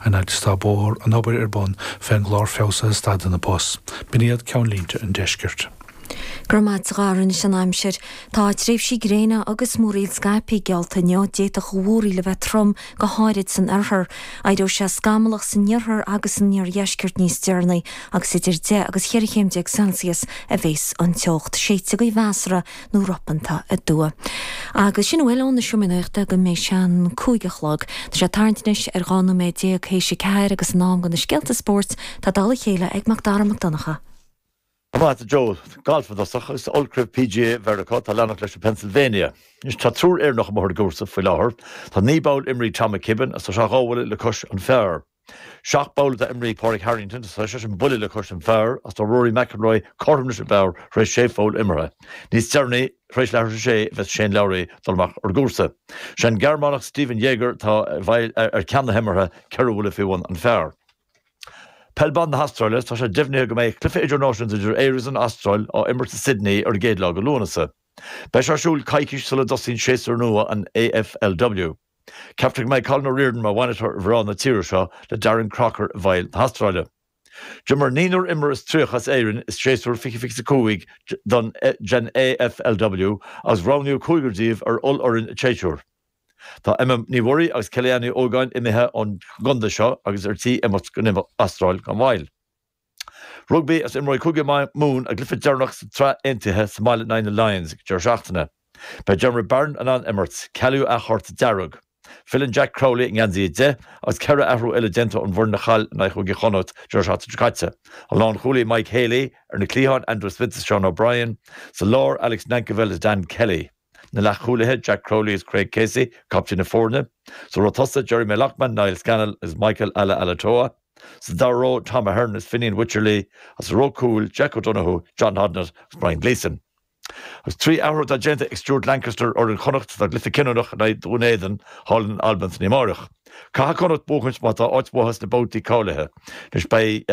An fhaid is atá bóthar an obair ar bun fén gclár feabhsaithe stadanna bus. B'in iad ceannlínte an deiscirt. Go raibh maith agat a Dhara anois an aimsir. Tá tréimhsí gréine agus múraíl scaipthe geallta inniu. D'fhéadfadh an mhúraíl a bheith trom, go háirid san oirthear. Éireoidh sé scamallach san iarthar agus san iardheisceart níos deireanaí agus idir 10 agus 14 chéim Celsius a bheas an teocht. Séidfidh gaoth mheasartha nó ropanta aduaidh. Agus sin a bhfuil ón Seomra Nuachta go mbeidh sé an 5 a chlog. Tá sé ag tarraingt anois ar 12 nóiméad théis a 4 agus in am do na scéalta spóirt tá dála a chéile ag Mac Dara Mac Donncha. Maith agat a Joe. Galf i dtosach agus Ollchraobh PGA Mheiriceá atá ag leanacht leis i Pennsylvania. Anois tá triúr Éireannach amuigh ar an gcúrsa faoi láthair. Tá 9 bpoll imrithe ag Tom McKibbin agus tá sé dhá bhuille le cois an phar. Seacht bpoll atá imrithe ag Pádraig Harrington agus tá seisean buille le cois an phar agus tá Rory McIlroy cothrom leis an bpar tar éis sé pholl imeartha. Níos deireanaí, tar éis leathuair tar éis a sé, a bheas Shane Lowry ag dul amach ar an gcúrsa. Sé an Gearmánach Stephan Jaeger atá ar ceann na himeartha, ceithre bhuille faoi bhun an phar. Peil Ban na hAstráile, Tá sé deimhnithe go mbeidh cluiche idirnáisiúnta idir Éire agus an Astráil á imirt i Sydney ar an gcéad lá de Lúnasa. Beidh sé ar siúl coicís sula dtosaíonn séasúr nua an AFLW. Ceaptar go mbeidh Colin O'Riordan mar bhainisteoir ar mhná na tíre seo le Darren Crocker i bhfeighil na hAstráile. D'imir naonúr imreoir is 30 as Éirinn i séasúr 2025 don den AFLW agus roghnaíodh cúigear díobh ar ollfhoireann an tséasúir. Tá Emma Ní Mhuirí agus Kellyanne Ní Ógáin imithe ón gcontae seo agus ar tí imeacht go Astráil gan mhoill. Rugbaí agus imreoidh Cúige Mumhan a gcluiche deireanach sa tSraith Aontaithe sa mbaile in aghaidh na Lions ag deireadh seachtaine. Beidh Diarmuid Barron in ann imirt, cealaíodh a chárta dearg. Filleann Jack Crowley i ngeansaí 10 agus 4 athrú eile déanta ón bhfoireann a chaill in aghaidh Chúige Chonnacht deireadh seachtaine seo caite. An lánchúlaí Mike Haley, ar na cliatháin Andrew Smith is Sean O'Brien, sa lár Alex Nankivell is Dan Kelly. Na leathchúlaithe, Jack Crowley agus Craig Casey, captaen na foirne. Sa ró tosaigh, Jeremy Loughman, Niall Scannell agus Michael Alaalatoa. Sa dara ró, Tom Ahern agus Fineen Wycherley agus sa ró cúil, Jack O'Donoghue, John Hodnett agus Brian Gleeson. Agus 3 athrú atá déanta ag Stuart Lancaster ar fhoireann Chonnacht dá gcluiche cinniúnach in aghaidh Dhún Éideann thall in Albain san oíche amárach. Caithfidh Connacht buachaint má tá áit uathu sna babhtaí cáilithe. Anois beidh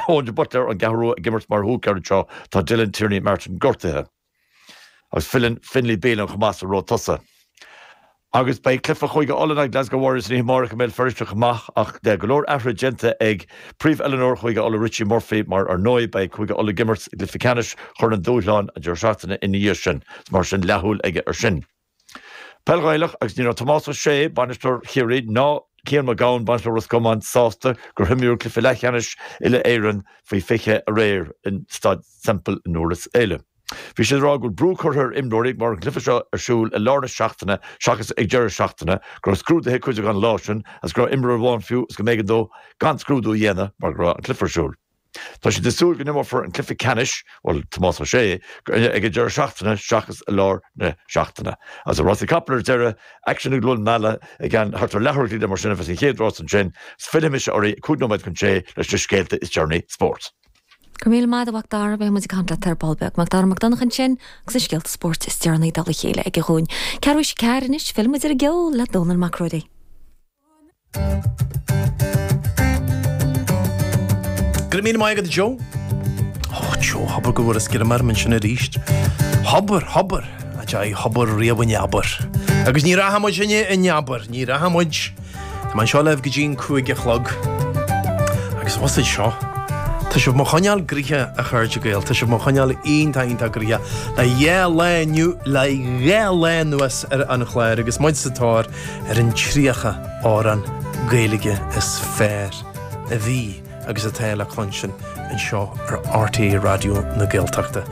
Eoin de Buitléar ón gCeathrú Rua ag imirt mar húicéir anseo, tá Dylan Tierney Martin gortaithe. Agus filleann Finlay Bealham chomh maith sa ró tosaigh. Agus beidh cluiche Chúige Uladh in aghaidh Glasgow Warriors san oíche amárach i mBéal Feirste chomh maith ach go leor athruithe déanta ag príomh-oiliúnóir Chúige Uladh Richie Murphy mar ar ndóigh beidh Cúige Uladh ag imirt i gcluiche ceannais Chorn an Dúshláin an deireadh seachtaine ina dhiaidh sin. Mar sin leathshúil aige ar sin. Peil Ghaelach agus ní raibh Tomás Ó Sé, bainisteoir Chiarraí, ná Cian Mac Gabhann, bainisteoir Ros Comáin, sásta gur himríodh cluiche leathcheannais uile-Éireann faoi 20 aréir in Staid Semple i nDurlas Éile. Bhí siad ag rá go bhfuil brú curtha ar imreoirí mar an cluiche seo ar siúl i lár na seachtaine seachas ag deireadh seachtaine, go raibh scrúduithe ag cuid acu an lá sin agus go raibh imreoir amháin fiú is go mb'éigean dó gan scrúdú a dhéanamh mar go raibh an cluiche ar siúl. Tá siad ag súil go n-imreofar an cluiche ceannais, bhuel, Tomás Ó Sé, ag an deireadh seachtaine seachas i lár na seachtaine. Agus i rásaí capall ar deireadh, aicsean i gCluain Meala i gceann thart ar leathuair go leith mar sin a bheas an chéad rás ansin. 'S fillfidh mise oraibh 5 nóiméad chun sé leis na scéalta is deireanaí spóirt. Go raibh míle maith agat a Mhac Dara, beidh muid ag caint leat ar ball beag. Mac Dara Mac Donncha ansin agus na scéalta spóirt is deireanaí dála a chéile aige dhúinn. Ceathrú théis a ceathair anois, fillfidh muid ar an gceol le Dónall Mac Ruairí. Go raibh míle maith agat a Joe. Ó Joe, abair go bhfuair scream orm ansin arís. Abair, abair, a Joe, abair riamh in abair. Agus ní rachaidh muid inne in abair, ní rachaidh muid. Tá mé anseo libh go dtí an 5 a chlog. Agus what's it seo? Tá sibh mo choinneáil gnoitheach a chairde Gael, tá sibh mo choinneáil iontach iontach gnoitheach le dhá lá inniu, le dhá lá anuas ar an chlár agus muid sa tóir ar an 30 amhrán Gaeilge is fearr a bhí agus atá le cluinstin anseo ar RTÉ Raidió na Gaeltachta.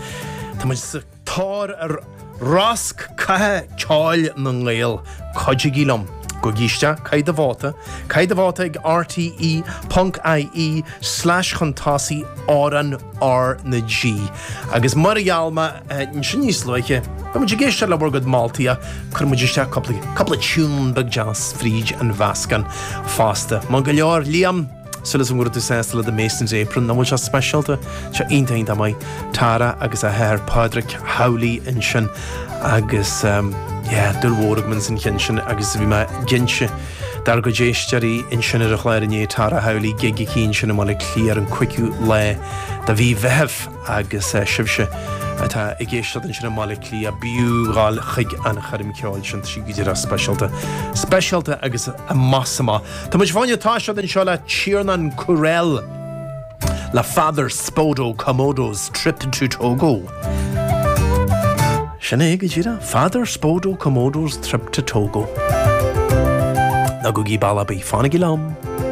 Tá muid sa tóir ar rosc catha ceoil na nGael. Cuidigí liom. Gabhaigí isteach, caith do vóta, caith do vóta ag rte ponc ie slash chun tosaigh amhrán R na G. Agus mar a gheall mé ansin níos luaithe, beidh muid ag éisteacht le bhur gcuid moltaí ach cuirfidh muid isteach cúpla, cúpla tune beag deas fríd an mheascán fosta. Maith go leor, Liam, súil agam go raibh tú sásta le do Mason's Apron, nach bhfuil sé speisialta? Tá sé iontach iontach maith. Tara agus a hathair Pádraic Howley ansin agus yeah, dúil mhór agam ins an cheann sin agus bhí mé ag inse dár gcuid éisteoirí ansin ar an chlár inné, Tara Howley, gig aici ansin i mBaile Átha Cliath ar an 5ú lá de mhí Mheithimh agus sibhse. atá ag éisteacht ansin i mBaile Átha Cliath, b'fhiú dhul chuig an choirm ceoil sin, tá sí go díreach speisialta. Speisialta agus amach is amach. Tá muid fá choinne toiseacht anseo le Tiarnán Courell le Father Spodo Komodo's Trip to Togo. Sin é go díreach, Father Spodo Komodo's Trip to Togo. Ná gabhaigí bealach ar bith, fanaigí liom!